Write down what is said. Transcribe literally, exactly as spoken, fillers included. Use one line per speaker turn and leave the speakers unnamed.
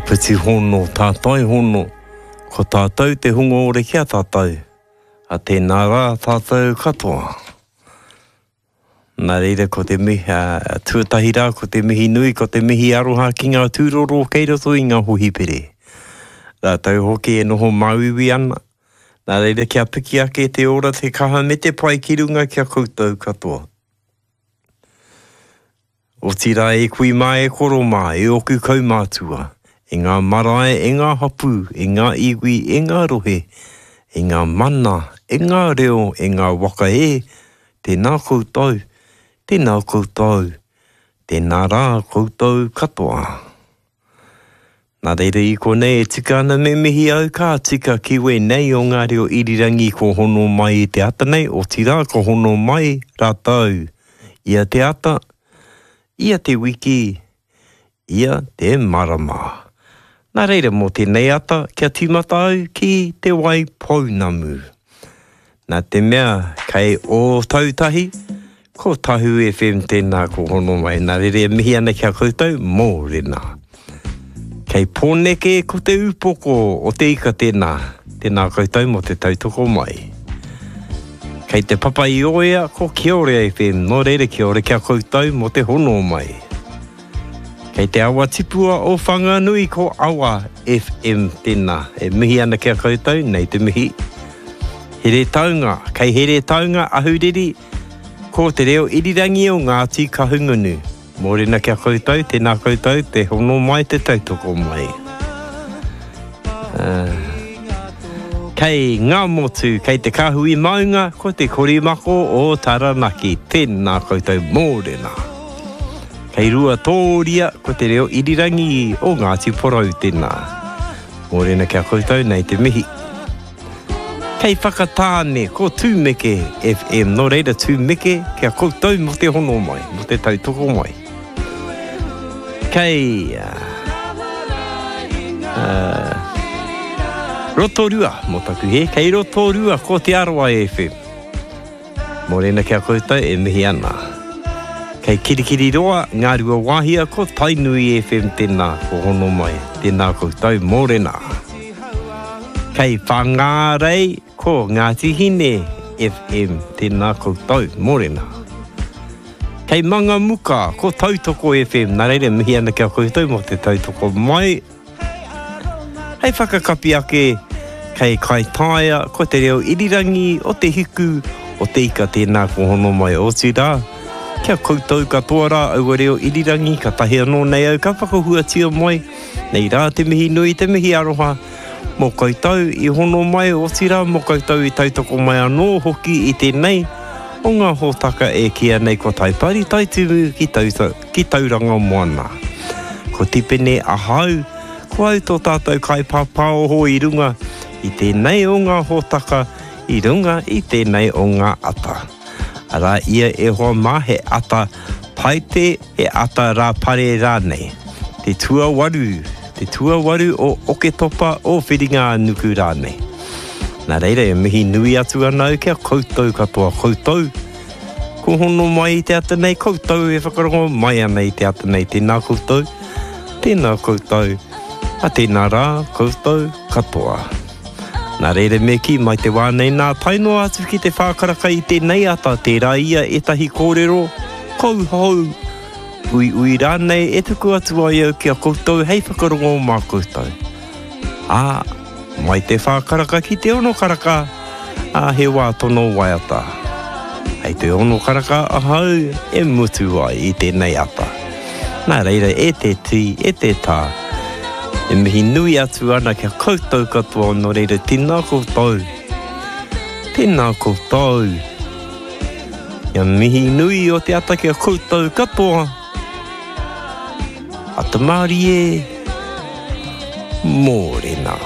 Āpiti hono, tātai hono, ko tātou te hunga ore ki a tātou, a tēnā rā tātou katoa. Nā reira ko te mihi, uh, tuatahi rā ko te mihi nui, ko te mihi aroha ki ngā tūroro kei roto i ngā hohipere. Rātou hoki e noho māuiui ana. Nā reira kia piki ake te ora, te kaha me te pai ki runga kia koutou katoa. Otirā e kui mā e koro mā, e oku kaumātua, e ngā marae, e ngā hapu, e ngā iwi, e ngā rohe, e ngā mana, e ngā reo, e ngā waka e, tēnā koutou, tēnā koutou, tēnā rā koutou katoa. Nā reira i konei e tika ana me mihi au ka tika ki wēnei o ngā reo irirangi ko hono mai i te ata nei, otirā ko hono mai rātou ia te ata, ia te wiki, ia te marama. Nā reira mō tēnei ata kia tīmata au ki te wai pounamu. Nā te mea kei Ōtautahi, ko Tahu F M tēnā ko hono mai. Nā reira e mihi ana ki a koutou, mōrena. Kei Pōneke ko te upoko o te ika tēnā. Tēnā koutou mō te tautoko mai. Kei te papa i oea ko Kiore F M, nō reira kiore kia koutou mō te hono mai. Kei te awa tipua o Whanganui ko Awa F M tēnā. E mihi ana kia koutou, nei te mihi. Heretaunga, kei Heretaunga ahuriri, ko te reo irirangi o Ngāti Kahungunu. Mōrena kia koutou, tēnā koutou, te hono mai, te tautoko mai. Uh, kei Ngāmotu, kei te Kāhui Maunga, ko te Korimako o Taranaki. Tēnā koutou, mōrena. Kei Ruatōria, ko te reo irirangi o Ngāti Porou tēnā. Mōrena kia koutou, nei te mihi. Kei Whakatāne, ko Tūmeke F M. Nō reira Tūmeke, kia koutou mō te hono mai, mō te tautoko mai. Kei uh, uh, Rotorua, mō taku he, kei Rotorua, ko Te Arawa F M. Mōrena kia koutou e mihi ana. Kei Kirikiriroa, Ngā Wāhia, ko Tainui F M tēnā, ko hono mai, tēnā koutou, mōrena. Kei Whangārei, ko Ngāti Hine F M, tēnā koutou, mōrena. Kei Mangamuka, ko Tautoko F M, nā reira mihi ana kia koutou mō te tautoko mai. Hei whakakapi ake, kei Kaitaia, ko te reo irirangi o te hiku, o te ika tēnā ko hono mai otirā. Kia koutou katoa rā aua reo irirangi, ka tahi anō nei au, ka whakahuatia mai. Nei rā te mihi nui, te mihi aroha, mō koutou i hono mai, otirā mō koutou i tautoko mai anō hoki i tēnei o ngā hōtaka e kīa nei ko Taipari Taitimu ki, tauta, ki Tauranga Moana. Ko Tipene ahau, ko au tō tātou kaipāpāoho i runga i tēnei o ngā hōtaka, i runga i tēnei o ngā ata. Arā ia e hoa mā he ata paite, he ata rāpare rānei. Te tuawaru, te tuawaru o Oketopa o Whiringa Nuku rānei. Nā reira e mihi nui atu ana au kia koutou katoa koutou. Ko hono mai i te ata nei koutou e whakarongo mai ana i te ata nei. Tēnā koutou, tēnā koutou, a tēnā rā koutou katoa. Nā reira me kī mai te wā nei nā tae noa atu ki te whākaraka i tēnei ata, tērā ia ētahi kōrero, kouhou, ui ui rānei e tuku atu ai au ki a koutou hei whakarongo mā koutou. Ā, mai te whākaraka ki te ono karaka, ā, he wā tono waiata. Hei te ono karaka ahau e mutu ai i tēnei ata. Nā reira e te tī, e te tā, e mihi nui atu ana kia koutou katoa, nō reira tēnā koutou. Tēnā koutou. Kia mihi nui o te ata kia koutou katoa. Ata mārie, mōrena.